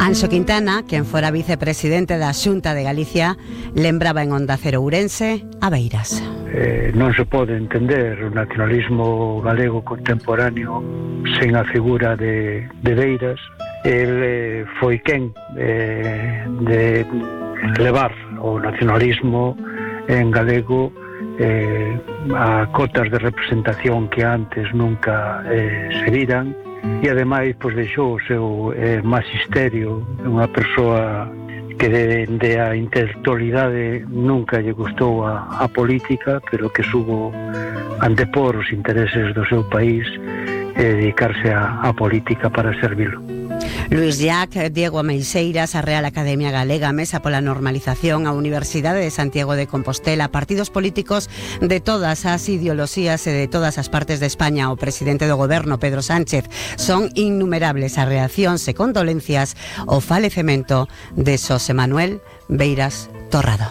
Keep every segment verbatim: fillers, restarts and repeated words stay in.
Anxo Quintana, quen fora vicepresidente da Xunta de Galicia, lembraba en Onda Cero Ourense a Beiras. Eh, non se pode entender o nacionalismo galego contemporáneo sen a figura de, de Beiras. El eh, foi quen eh, de levar o nacionalismo en galego eh, a cotas de representación que antes nunca eh, se viran. E ademais pois deixou o seu eh, magisterio, unha persoa que dende a intelectualidade nunca lle gustou a, a política, pero que subo antepor os intereses do seu país e dedicarse a, a política para servilo. Luís Llach, Diego Ameixeiras, a Real Academia Galega, Mesa pola Normalización, a Universidade de Santiago de Compostela, partidos políticos de todas as ideoloxías e de todas as partes de España, o presidente do goberno, Pedro Sánchez, son innumerables as reaccións e condolencias ao falecemento de Xosé Manuel Beiras Torrado.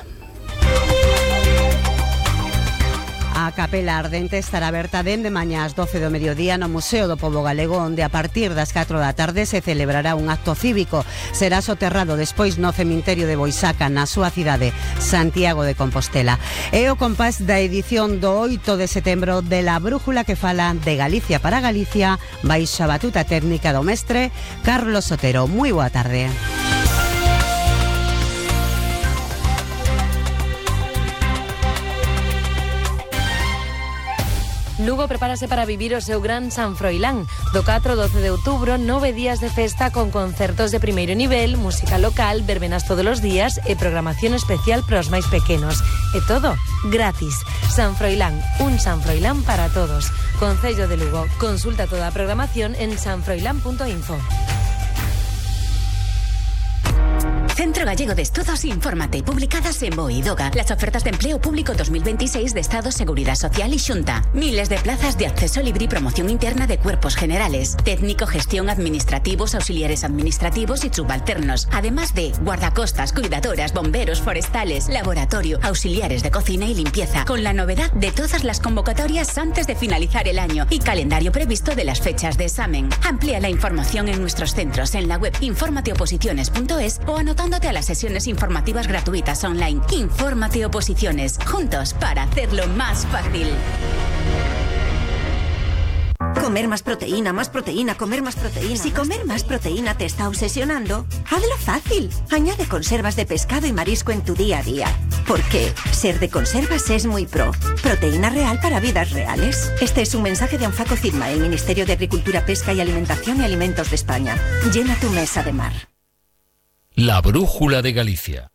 A Capela Ardente estará aberta dende mañá ás doce do mediodía no Museo do Pobo Galego, onde a partir das catro da tarde se celebrará un acto cívico. Será soterrado despois no cemiterio de Boisaca, na súa cidade, Santiago de Compostela. É o compás da edición do oito de setembro de La Brújula, que fala de Galicia para Galicia, baixo a batuta técnica do mestre Carlos Sotero. Moi boa tarde. Lugo prepárase para vivir o seu gran San Froilán. Do catro ao doce de outubro, nove días de festa con concertos de primeiro nivel, música local, verbenas todos os días e programación especial para os máis pequenos. E todo gratis. San Froilán, un San Froilán para todos. Concello de Lugo. Consulta toda a programación en sanfroilán punto info. Centro Gallego de Estudos Infórmate, publicadas en Boidoga. Las ofertas de empleo público dos mil veintiséis de Estado, Seguridad Social y Xunta. Miles de plazas de acceso libre y promoción interna de cuerpos generales. Técnico, gestión, administrativos, auxiliares administrativos y subalternos. Además de guardacostas, cuidadoras, bomberos, forestales, laboratorio, auxiliares de cocina y limpieza. Con la novedad de todas las convocatorias antes de finalizar el año y calendario previsto de las fechas de examen. Amplía la información en nuestros centros en la web informateoposiciones punto es o anotando a las sesiones informativas gratuitas online. Infórmate Oposiciones, juntos para hacerlo más fácil. Comer más proteína, más proteína, comer más proteína. Si comer más proteína te está obsesionando, hazlo fácil. Añade conservas de pescado y marisco en tu día a día. Porque ser de conservas es muy pro. Proteína real para vidas reales. Este es un mensaje de Anfaco Firma, el Ministerio de Agricultura, Pesca y Alimentación y Alimentos de España. Llena tu mesa de mar. La Brújula de Galicia.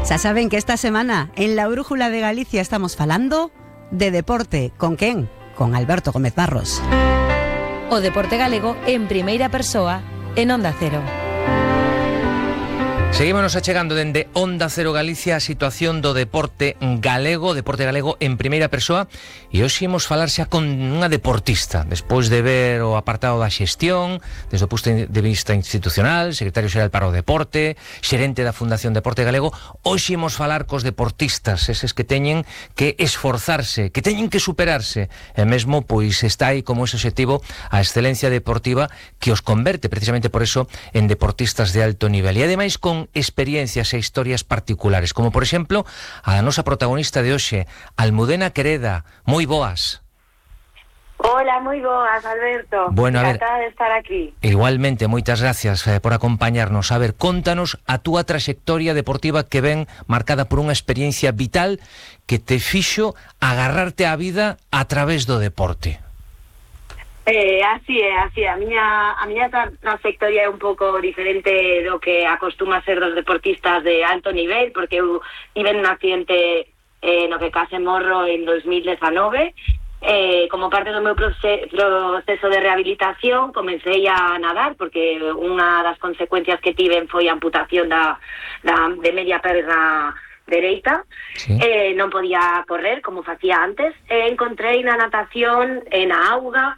Xa saben que esta semana en La Brújula de Galicia estamos falando de deporte. Con quen? Con Alberto Gómez Barros. O deporte galego en primeira persoa en Onda Cero. Seguímonos achegando dende Onda Cero Galicia a situación do deporte galego, deporte galego en primeira persoa, e hoxe imos falar xa con unha deportista, despois de ver o apartado da xestión, desde o punto de vista institucional, secretario xeral para o deporte, xerente da Fundación Deporte Galego. Hoxe imos falar cos deportistas, eses que teñen que esforzarse, que teñen que superarse, e mesmo pois está aí como ese objetivo a excelencia deportiva que os converte precisamente por eso en deportistas de alto nivel, e ademais con experiencias e historias particulares, como por exemplo a nosa protagonista de hoxe, Almudena Quereda. Moi boas. Hola, moi boas, Alberto. Bueno, a ver, encantada de estar aquí. Igualmente, moitas gracias eh, por acompañarnos. A ver, contanos a túa traxectoria deportiva que ven marcada por unha experiencia vital que te fixo agarrarte á vida a través do deporte. Eh, así é, así é. A miña, a miña tra trayectoria é un pouco diferente do que acostuma ser dos deportistas de alto nivel, porque eu tive un accidente eh, no que case morro en dos mil dezenove. Eh, como parte do meu proce proceso de rehabilitación comecei a nadar, porque unha das consecuencias que tiven foi a amputación da, da, de media perna dereita. Sí. Eh, non podía correr como facía antes, e encontrei na natación e na auga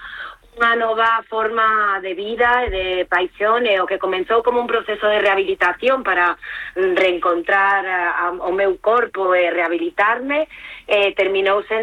unha nova forma de vida e de paixón, e o que comenzou como un proceso de rehabilitación para reencontrar a, a, o meu corpo e rehabilitarme, eh, terminou sendo